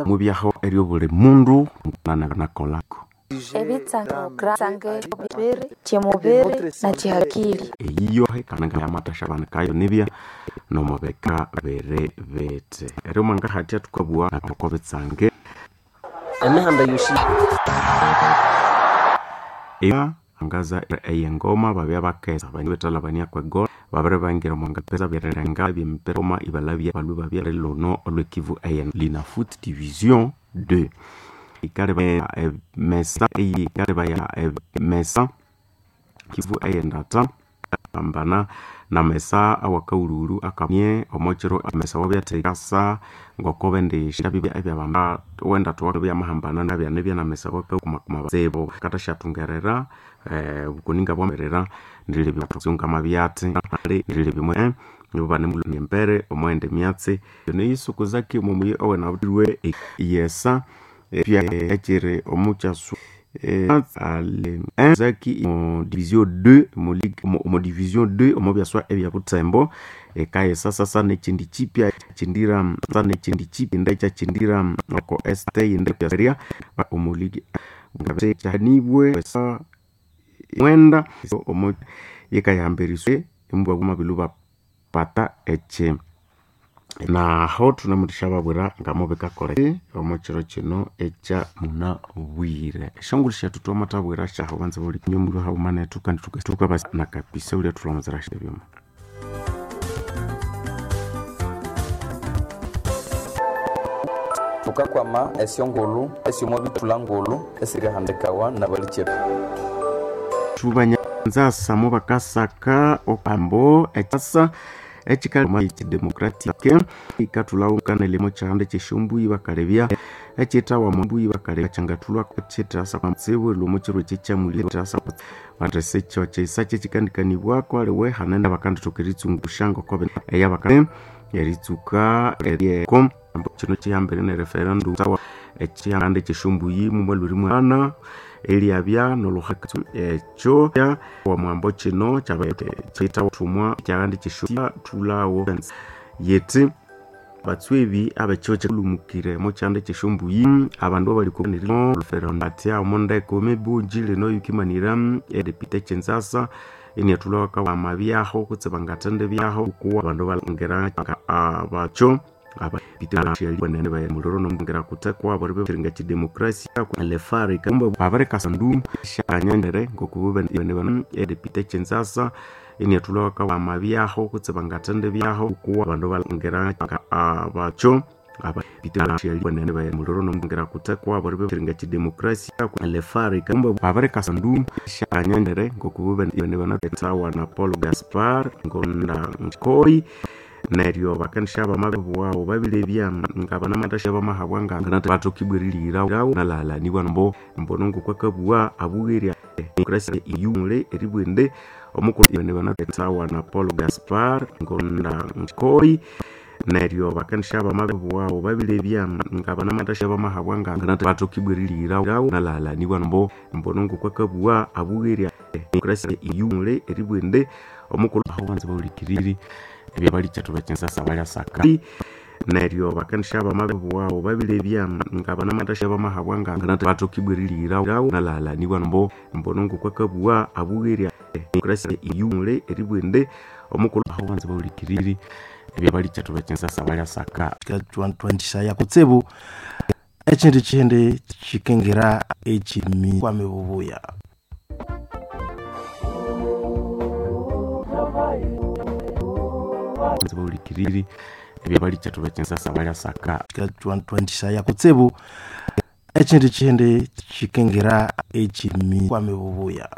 Mubyaho eryo buli mundu nakolako Ebitsange bibiri kyemubiri nakyihakili. Eyiyohe kananga yamathasha banikayo nibya nomubika biri bithi eryo mwangahatya thukabugha oko bitsange Emihanda yosi angaza eyengoma babya bakesa bethalabania kwegola babiri bangira omwangapesa byerenga byemipira oma ibalabya balwe babya luno olwekivu eye Linafoot Division 2 ikaleba mesa ikaleba ya mesa kivu eyendata ambana na mesa awakaululu akamye omokiro mesa wabyathekasa ngokobe ndi ebyabamba wendatu byamahambana nabyanibya na mesa wakakumakuma sebo katashathungerera bukuninga bwamerera ndilebyatsungamabyatsi ndilebimwe nibubanemulempere omwende myatsi neyisukuzaki omomuyi owenabutirwe yesa pya ekiri omukyasu zaki mu division 2 mu ligue mu division 2 omu byaswa ebya butembo ekayesa sasa nekindi kipya kindira sa nekindi kipya nde kyakindira oko st inde byaseria omu ligue kyanibwe sa mwenda omu yekayamberiswe embwa mabilu bapata eche naho thunamuthasya babwira ngamubikakole omukiro kino ekya munabwire esyongulhu syethu twamathabwira syahu banza buli nyomulhu haghuma nethu kandi thukabasa nakapisa ulya thulhamuzira ebyuma. Thukakwama esyongulhu esyomwabithulha ngulhu esirihandikawa nabalikyetu. Thubanyanzasa mubakasaka okambo ekyasa ekikali democratic ikathulhawo kanelemo kyihanda kyesyombuyi bakalebya ekyithawa mbuyi bakalebya kyangathulhwa kyithasa tsibu lwomo kiro kyekyamulya thasa bathese kyo kyisa kyekikandikanibwako aliwe hanene bakandithoka eritsungusha ngokobe eyabaka eritsuka eryeko kino kihambere ne referendum sawa ekyihanda kyesyombuyi mumwalwiri mwana eliabya noluhaka ekyo wamwambo kino kyithathumwa kyahanda kyesyo thulawo yeti batswebi abekyo kyalumukire mo kyanda kyesyombuyi abandu abalikatya omondeko mebunji lino yukimanira edepite kyenzasa iniathulhawaka amabyaho kutse bangathende byaho kuwa abandu balongira abakyo muliro nongera kutekwa bori kidemokrasia lefari kumba abarekasandu shanyendere ngokubube edepite kyenzasa iniathulhawaka amabyaho kutse bangathende byaho kuwa abandu balongira abakyo muliro nongera kutekwa bori kidemokrasia lefari kumba abarekasandu shanyendere ngokubube sawa na Paul Gaspar ngonda nkoi neryo bakandisha bamabiwawo babilebya ngabanamatashya bamahabwa nga batokibwiririrawo nalalanibwa mbo mbono ngokwakabuwa abugherya demokrasia iyumule eribwende omukulu sawa na Paul Gaspar ngonda nkoi neryo bakandisha bamabiwawo babilebya ngabanamatashya bamahabwa nga batokibwiririrawo nalalanibwa mbo mbono ngokwakabuwa abugherya demokrasia iyumule eribwende omukulu aho banza baulikiriri ebyabalikyetu bekyensasa balyasaka neryo bakandisha bamabiwawo babilebya ngabanamatashya bamahabwa nga batokibwiririrawo nalalanibwa mbo mbono ngokwakabuwa abugherya demokrasia iyumule eribwende omukulu aho banza baulikiriri ebyabalikyetu bekyensasa balyasaka Twandisaya kutsibu ekindi kihindi kikingira ekimi kwame bubuya. Banza baulikiriri ebyabalikyetu bekyensasa balyasaka Twandisaya kutsibu ekindi kihindi kikingira ekimi kwame bubuya.